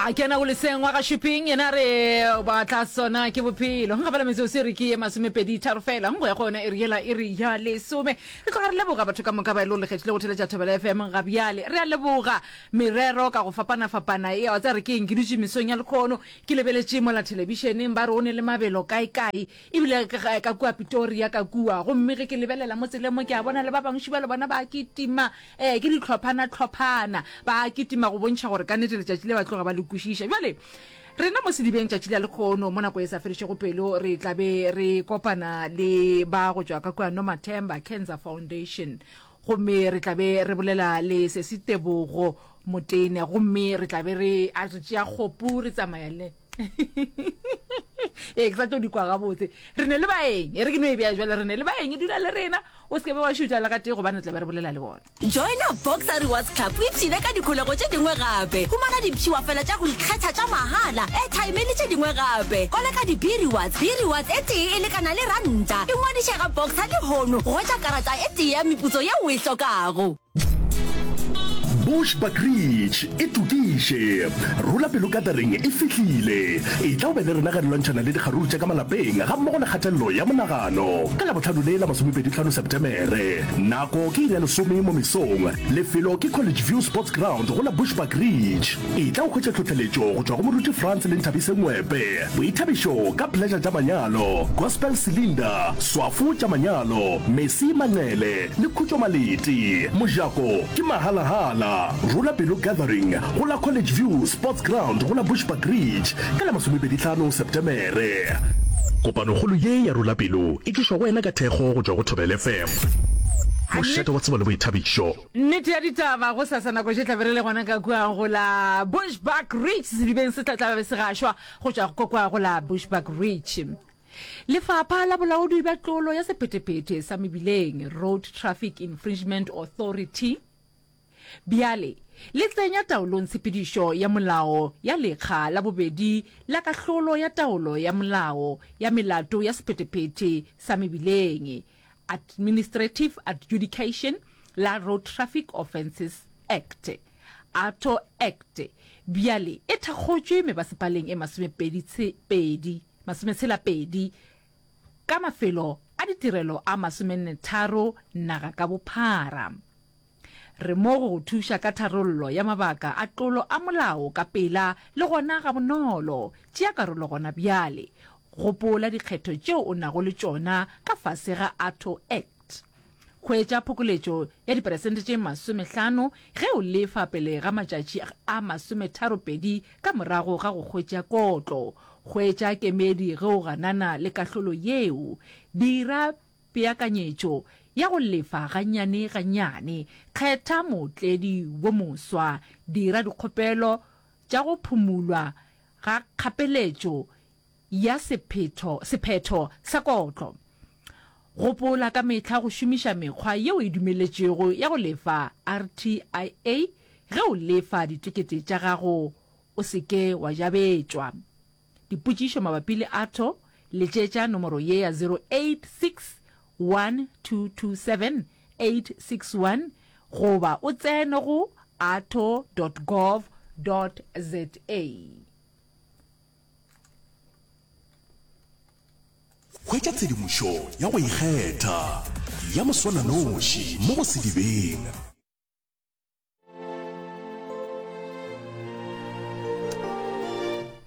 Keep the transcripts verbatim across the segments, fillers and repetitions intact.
A kena go leseng wa ga Shuping, yena re ba tla sona ke bophelo. Nka bala metsotso e re ke ye masomepedi tharo fela, go ya go yona iri yela iri ya lesome. Re tloga re leboga batho ka moka ba e le gore le kgethile go theletša Thobela F M ga bjale. Re a leboga merero ka go fapana-fapana. E, wa tseba re ke eng, ke dutše mesong ya lekhono ke lebeletše mola thelebišeneng ba re o ne le mabelo kae-kae, ebile ka, ka kua Pretoria ka kua. Gomme ge ke lebelela mo tseleng mo ke a bona le ba bangwe šiba le bona ba kitima, eh, ke dihlophana-hlophana ba kitima go bontšha gore ka nnete letšatši le ba tloga ba le kwešiša. Bjale rena mo sedibeng tšatši la lekgono mo nako e sa fedišego pelo re tla be re kopana le ba go tšwa ka kua Nomathemba Cancer Foundation, gomme re tla be re bolela le Sesi Tebogo Motene, gomme re tla be re a re tšea kgopu re tsamaya le ee ke sa tlo di kwa gabotse. Re ne le baeng, e re ke no e bea jwale, re ne le baeng, dula le rena o se ke be wa šutha le gatee gobane re tla be re bolela le bona. Joina Boxer Rewards Club o ipshine ka dikholego tše dingwe gape. Humana dipshiwafela tša go ikgetha tša mahala, airtime le tše dingwe gape. Koleka di-B-Rewards. B-Rewards e tee e lekana le ranta. Ingwadiše ga Boxer lehono go hwetša karata e tee ya meputso yeo o e hlokago. Bushbuckridge e tokiše. Rola pelo gathering e fihlile. Etla o be le rena ge re lwantšhana le dikgaruru tša ka malapeng gammogo le kgatelelo ya monagano. Ka Labohlano le la masomepedi hlano Setemere. Nako ke iri ya lesome mo mesong. Lefelo ke College View Sports Ground go la Bushbuckridge. Etla o hwetše tlhohleletšo go tšwa go Moruti Frans le Nthabise Ngwepe. Boithabišo ka Pleasure tša manyalo, Gospel Cylinder, Swafo tša manyalo, Messi Manqele le Khutšo Malete. Mojako ke mahalahala. Rola pelo gathering go la College View Sports Ground go la Bushbuckridge ka la masomepedi hlano Setemere. Kopanokgolo ye ya Rola Pelo e tlišwa go wena ka thekgo go tšwa go Thobela F M, mošate wa tsebo le boithabišo. Nnete ya ditaba, gosasa nako tše tla be re le gona ka kua go la Bushbuckridge, sedibeng se tla tla be se gašwa go tšwa ko kua go la Bushbuckridge. Lefapha la Bolaodi bja Tlolo ya Sephethephethe sa Mebileng, Road Traffic Infringement Authority, bjale le tsenya taolong tshepedišo ya molao ya lekga la bobedi la kahlolo ya taolo ya molao ya melato ya sephethephethe sa mebileng, Administrative Adjudication, la Road Traffic Offences Act, ATO Act, bjale e thakgotšwe mebasepaleng e masomepedi pedi, masometshela pedi ka mafelo a ditirelo a masomennetharo naga ka bophara. Re mo go go thuša ka tharollo ya mabaka a tlolo a molao ka pela le gona gabonolo. Tšea karolo gona bjale. Gopola dikgetho tšeo o nago le tšona ka fase ga ATO Act. Hwetša phokoletšo ya diperesente tše masomehlano ge o lefa pele ga matšatši a masometharopedi ka morago ga go hwetša kotlo. Hwetša kemedi ge o ganana le kahlolo yeo. Dira peakanyetšo ya go lefa gannyane gannyane. Kgetha mootledi wo moswa. Dira dikgopelo tša go phumulwa ga kgapeletšo ya sephetho, sephetho sa kotlo. Gopola ka mehla go šomiša mekgwa yeo e dumeletšwego ya go lefa R T I A ge o lefa ditekete tša gago o se ke wa jabetšwa. Dipotšišo mabapi le A T O, letšetša nomoro ye ya zero eight six one two two seven eight six one goba o tsene go ato dot gov dot za. Hwetša tshedimošo ya go ikgetha ya moswananoši mo go Sedibeng.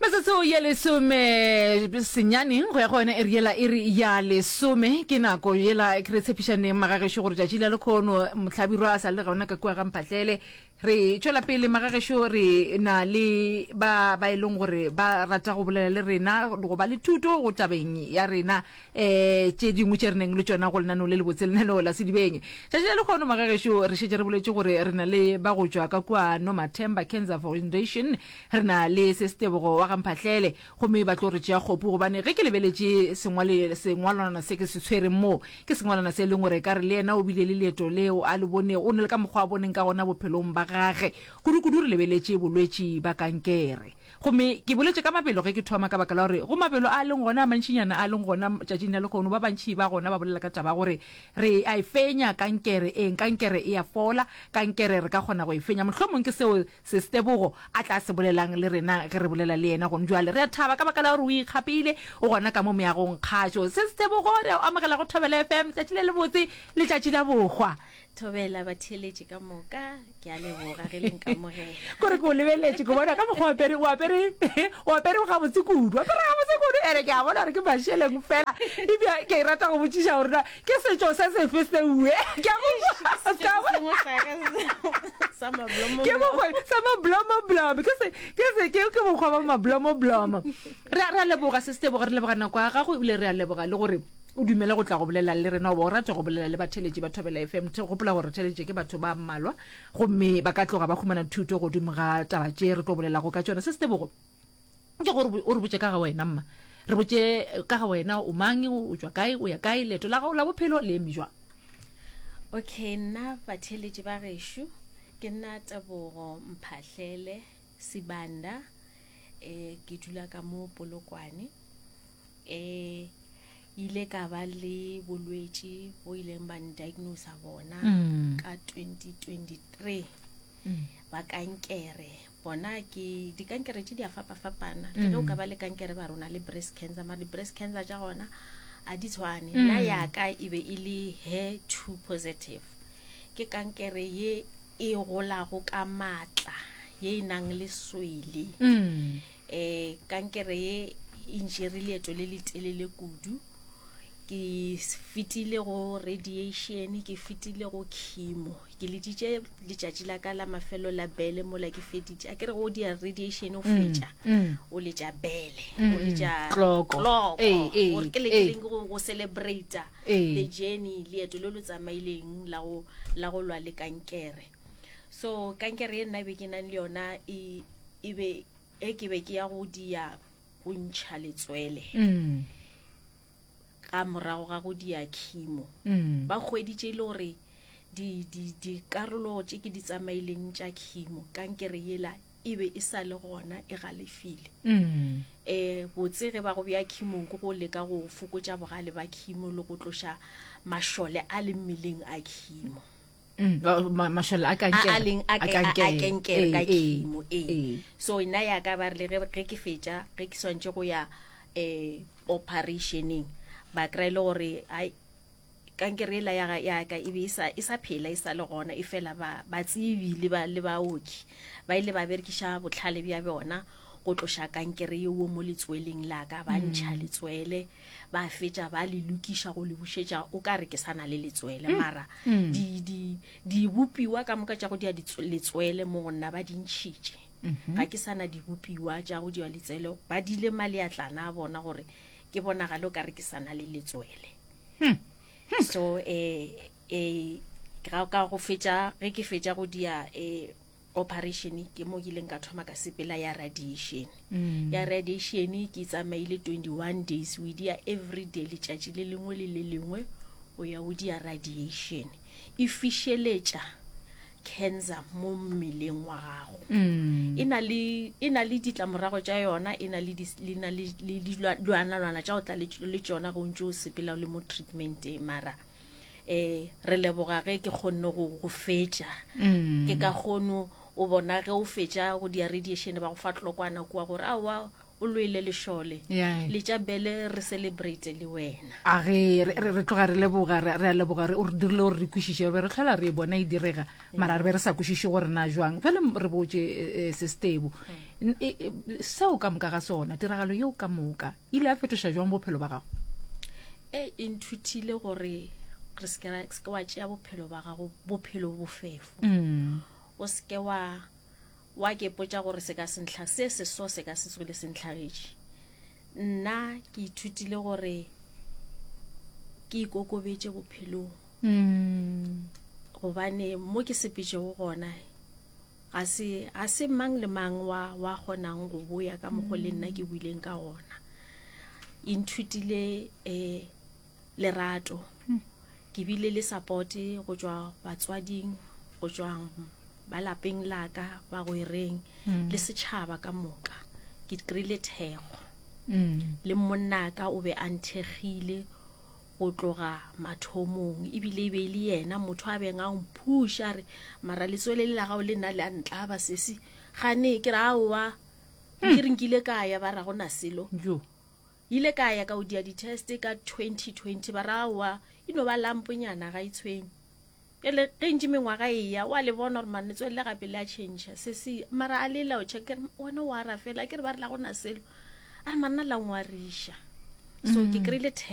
Metsotso ye lesome senyane go ya go yona iri yela iri ya lesome ke nako yela re tshepišaneng magagešo gore tšatši la lekhono mohlabirwa a sa le gona ka kua ga Mphahlele. Re tšwela pele magagešo, re na le ba ba e leng gore ba rata go bolela le rena go ba le thuto go tabeng ya rena um tše dingwe tše re neng le tšona go lenaneo le lebotse lenaneo la Sedibeng. Tšatši la lekhono magagešo re šetše re boletše gore re na le ba go tšwa ka kua Nomathemba Cancer Foundation, re na le Sesitebogo wa ga Mphahlele, gomme ba tlo re tšea kgopu gobane ge ke lebeletše sengwale sengwalwana se ke se tshwereng mo ke sengwalwana se e leng gore ka re le yena o bile le leeto leo a le bonego, o ne le ka mokgwa a boneng ka gona bophelong ba gage, kudukudu re lebeletše bolwetši ba kankere. Gomme ke boletše ka mabelo ge ke thoma ka baka la gore go mabelo a leng gona a mantšinyana a leng gona tšatšing la lehono, ba bantši ba gona ba bolela ka taba ya gore re a e fenya kankere, eng, kankere e a fola, kankere re ka kgona go e fenya. Mohlomong ke seo Sis Tebogo a tla se bolelang le rena ge re bolela le yena gone bjale. Re a thaba ka baka la gore o ikgapile, o gona ka mo meagong kgašo. Sis Tebogo, re a o amogela go Thobela F M, letšatši le lebotse, letšatši la bohwa. Thobela batheeletši ka moka, ke a leboga ge le nkamogela. Kore ke o lebeletše, ke bona ka mokgwa o apere, o apere, o apere gabotse kudu, o apere gabotse kudu, ene ke a bona gore ke mašeleng fela. Ebja ke rata go botšiša gore na ke setšo se sefe seue? Ke a go Setšo se sengwe sa ka sa mablomo. Ke mokgwa sa mablomoblomo, ke se, ke se, ke, ke mokgwa wa mablomoblomo. Re a, re a leboga Sis Tebogo, re leboga nako ya gago, ebile re a leboga le gore o dumele go tla go bolela le rena goba o rate go bolela le batheeletši ba Thobela F M. Gopola gore re theeleditše ke batho ba mmalwa gomme ba ka tloga ba humana thuto godimo ga taba tše re tlo bolelago ka tšona. Se Setebogo, ke gore o re botše ka ga wena mma. Re botše ka ga wena, o mang, o tšwa kae, o ya kae, leeto la gago la bophelo le eme jwang? Okay, nna batheeletši ba gešo, ke nna Tebogo Mphahlele Sibanda, eh, ke dula ka mo Polokwane. Eh, ile ka ba le bolwetši bo ileng ba ndiagnose bona Mm. ka twenty twenty-three Mm. ba kankere. Bona ke dikankere tše di a fapafapana. Le ge o ka ba le kankere ba rona le breast cancer, mara di-breast cancer tša gona a di tshwane. Mm. Nna ya ka e be e le H E R two positive. Ke kankere ye e golago ka maatla, ye e nang le swele. Mm. Eh, kankere ye e ntšere leeto le le telele kudu. Ke fetile go radiation, ke fetile go chemo. Ke leditše letšatši la ka la mafelo la bele mola ke feditše. A ke re go dia radiation o Mm, fetša, mm. o letša bele, Mm, o letša kloko. kloko. Ee, ee, Gore ke le ee. ke leng go, go celebrate Ee. the journey, leeto le le tsamaileng la go, la go lwa le kankere. So kankere ye nna be ke nang le yona e, e be, e ke be ke ya go dia go ntšha letswele. Mm. Ka morago ga go dia chemo. Mm. Ba hweditše e le gore di, di, dikarolo tše ke di tsamaileng tša chemo, kankere yela e be e sa le gona, e galefile. Mm. Eh, botse ge ba go bea chemong ke go leka go fokotša bogale ba chemo le go tloša mašole a le mmeleng a chemo. Mm, ba, ma, mašole a A, a kankere. leng a A ke, a, a kankere. kankere ka Ee, ee, chemo, ee. ee. So nna ya ka ba re le ge, ge ke fetša, ge ke swantše go ya, eh, operationeng, ba kry-e le gore, ai, kankere ela ya ga, ya ka e be e sa, e sa phela, e sa le gona, e fela ba, ba tsebi le ba, le baoki ba ile ba berekiša bohlale bja bona go tloša kankere yeo mo letsweleng la ka, ba ntšha Mm. letswele, ba fetša ba le lokiša go le bušetša, o ka re ke sa na le letswele, Mm. mara Mm. di, di, dibopiwa ka moka tša go dia ditswe-, letswele mo go nna ba di ntšhitše. Mhm. Ga ke sa na dibopiwa tša go dia letswele, ba dile maleatlana a bona gore ke bonagale o ka re ke sa na le letswele. Hmm. So, eh, eh, ga ka go fetša, ge ke fetša go dia, eh, operation, ke mo ke ileng ka thoma ka sepela ya radiation. Mm. Ya radiation ke tsamaile twenty-one days, o dia every day, letšatši le lengwe le le lengwe o ya o dia radiation. E fišeletša cancer mo mmeleng wa gago. Mm. E na le, e na le ditlamorago tša yona, e na le di, le na le, le dilwanalwana tša go tla le, le tšona ge o ntše o sepela o le mo treatmenteng, mara eh, re leboga ge ke kgonne go, go fetša. Mm. Ke ka kgono o bona ge o fetša go dia radiation ba go fa tlokwana kua gore aowa o lwele lešole. Yeah. Letša bele re celebrate le wena. A ge re, re, re tloga re leboga, re, re a leboga, re, o re dirile gore re kwešiše, re be re hlola re e bona e direga, mara re be re sa kwešiše gore na jwang. Bjale m-, re botše, eh, eh, Sestebo. Mm. N-, e, e, seo ka moka ga sona, tiragalo yeo ka moka, e ile ya fetoša jwang bophelo ba gago? E, e nthutile gore re se ke ra, se ke wa tšea bophelo ba gago, bophelo bofefo. Mm. O se ke wa, wa ke potša gore se ka se ntlha, se se so se ka se tswele se ntlhagetše. Nna ke ithutile gore ke ikokobetše bophelong. Mm. Gobane mo ke sepetšego gona, ga se, ga se mang le mang wa, wa kgonang go boya ka mokgo le nna ke buileng ka gona. E nthutile, eh, lerato. Mm. Ke bile le support go tšwa batswading, go tšwa ba lapeng la ka bagwereng le setšhaba ka moka ke kry-ile thekgo le monnaka o be a nthekgile go tloga mathomong ebile e be e le yena motho a beng a mphuša a re mara letswele le la gago le nna le a ntlaba sesi gane ke re aowa ke re nkile ka ya ba ra gona selo jo ile ka ya ka o dia di-test ka twenty twenty ba ra aowa e no ba lamponyana ga e tshwenye pele ge ntši mengwaga e ya wa le bona gore mane letswele le gape le a change se se mara a lela o check wena o ara fela ke re ba re la gona selo a re manna la ngwariša so ke kry-ile thekgo.